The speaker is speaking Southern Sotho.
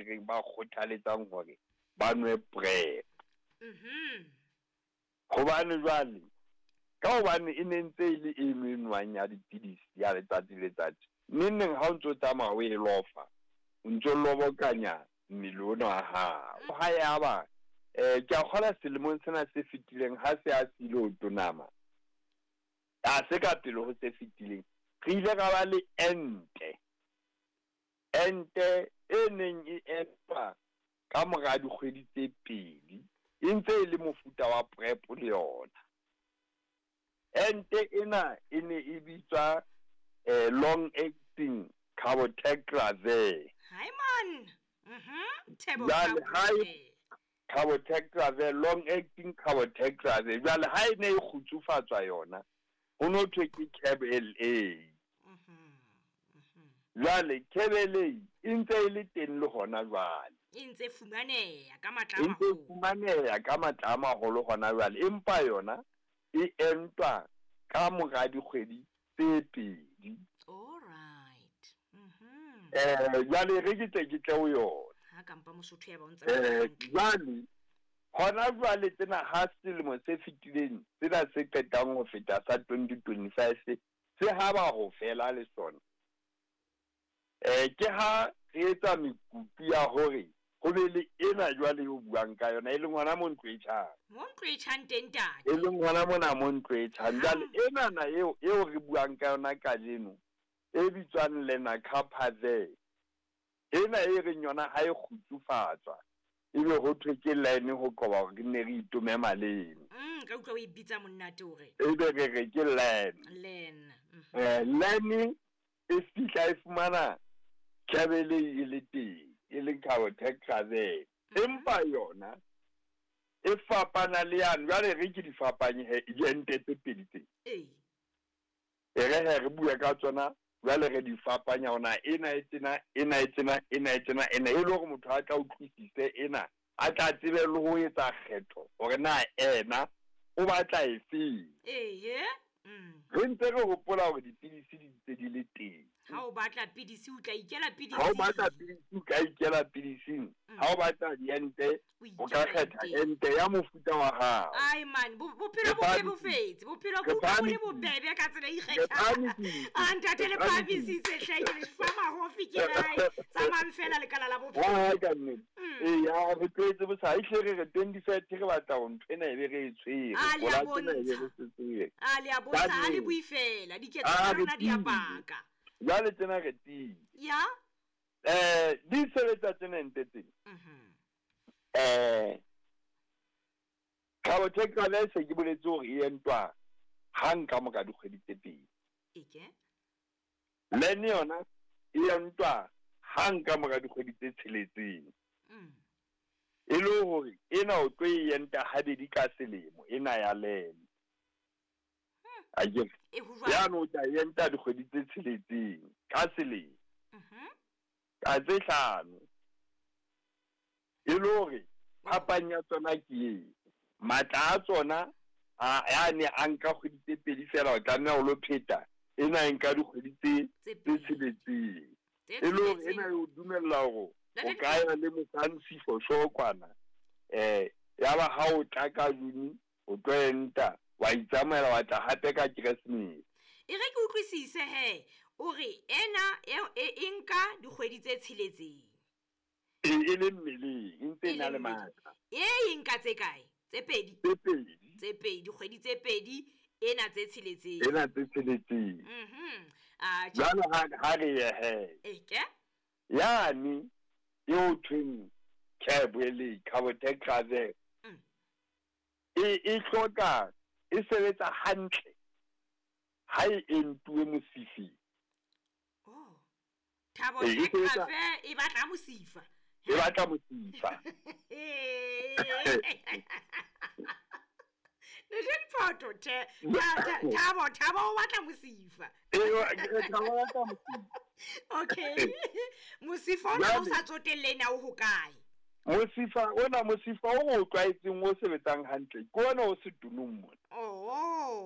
reng ba kgothaletsang hore ba nwe PrEP. Hobane jwale ka hobane e ne ntse e le eno e nwang ya dipidisi ya letsatsi le letsatsi, neng neng ha o ntso tsamaya o e lofa, o ntso lobokanya mmele ona wa hao. Ha ya ba ke a kgola selemong sena se fetileng ha se a sile ho tonama, a se ka pele ho se fetileng, re ile ra ba le ente. Ente e neng e entwa ka mora dikgwedi tse 2, e ntse e le mofuta wa PrEP le yona. Ente ena e ne e bitswa long acting cabotegravir. Hi man. Cabotegravir, long acting cabotegravir. Jwale ha e ne e kgutsufatswa yona, ho no thwe ke CAB-LA. Jwale CAB-LA e ntse e le teng le hona jwale. E ntse fumaneha ka matla a maholo. E ntse fumaneha ka matla a maholo hona jwale, empa yona e entwa ka mora dikgwedi tse 2. All right. Jwale re ke tle ke tle ho yona. Ha kampa Mosotho ya ba ntse. Jwale hona jwale tsena ha selemo se fetileng, tsena se qetang ho feta sa 2025 se ha ba ho fela le sona. Ke ha re etsa mekutu ya hore ho be le ena jwale eo buang ka yona, e leng hona mo ntlo e tjhang. Mo ntlo e tjhang teng ntate. E leng hona mona mo ntlo e tjhang. Jwale ena na eo re buang ka yona kajeno, e bitswang Lenacapavir. Ena e reng yona ha e kgutsufatswa, ebe ho thwe ke line ho qoba hore re nne re itome maleme. Ka utlwa o e bitsa monate hore. Ebe re re ke line. Line. Line e fihla e fumana CAB-LA e le teng, e leng cabotegravir. Empa yona e fapana le yane. Jwale re ke di fapanye he diente tse pedi tse. E re he re bue ka tsona, jwale re di fapanya hona ena e tena, ena e tena, ena e tena, ena e le hore motho a tla utlwisise ena, a tla tsebe le ho etsa kgetho hore na ena o batla efeng. Re ntse re hopola hore dipidisi di ntse di le teng. Ha o batla pidisi o tla ikela pidising. Ha o batla pidisi o tla ikela pidising. Ha o batla diente o ka kgetha ente ya mofuta wa hao. Ai man, bophelo bo bebofetse, bophelo bo le bobebe ka tsela e ikgethang. A ntate le phahamisitse hle, ke le fa mahofi ke rae. Tsamayang fela lekala la bophelo. Ha ka nnete. Ya re tlwaetse bo sa ehle re re 2030 re batla ho ntho ena e be re e tshwere. A le a bontsha. A le a bontsha, a le bue fela, diketso tsa rona di a paka. Jwale tsena re tiile. Ya? Di sebetsa tsena nte tsena. Cabotegravir se ke boletse hore e entwa hang ka mora dikgwedi tse 2. Eke? Line yona e entwa hang ka mora dikgwedi tse 6. E le hore ena o tlo e enta habedi ka selemo, ena ya line. Akere? Ya no tla enta dikgwedi tse 6 ka selemo. Ka tse 5. E le hore phapang ya tsona ke e, matla a tsona a ne a nka kgwedi tse 2 fela, o tlameha ho lo pheta ena e nka dikgwedi tse 6. E le hore ena e o dumella hore o ka ya le mosantsi for sure kwana. Ya ba ha o tla ka June o tlo enta, wa itsamaela wa tla hape ka Keresemese. E re ke utlwisise he, o re ena e nka dikgwedi tse 6. E le mmeleng, e ntse e na le matla. E nka tse kae? Tse 2. Tse 2. Tse 2, dikgwedi tse 2, ena tse 6. Ena tse 6. A jwale ha re ye he. Eke? Yani eo thweng CAB-LA, cabotegravir. E hloka, e sebetsa hantle ha e entuwe mosifeng. Oh. Cabotegravir e batla mosifa. E batla mosifa. Ne di photo te. Thabo o batla mosifa. Thabo o batla mosifa. Okay. Mosifa ona o sa tsotelle na o hokae? Mosifa ona, mosifa o tlwaetseng o sebetsang hantle ke ona o setunung mona. Oh.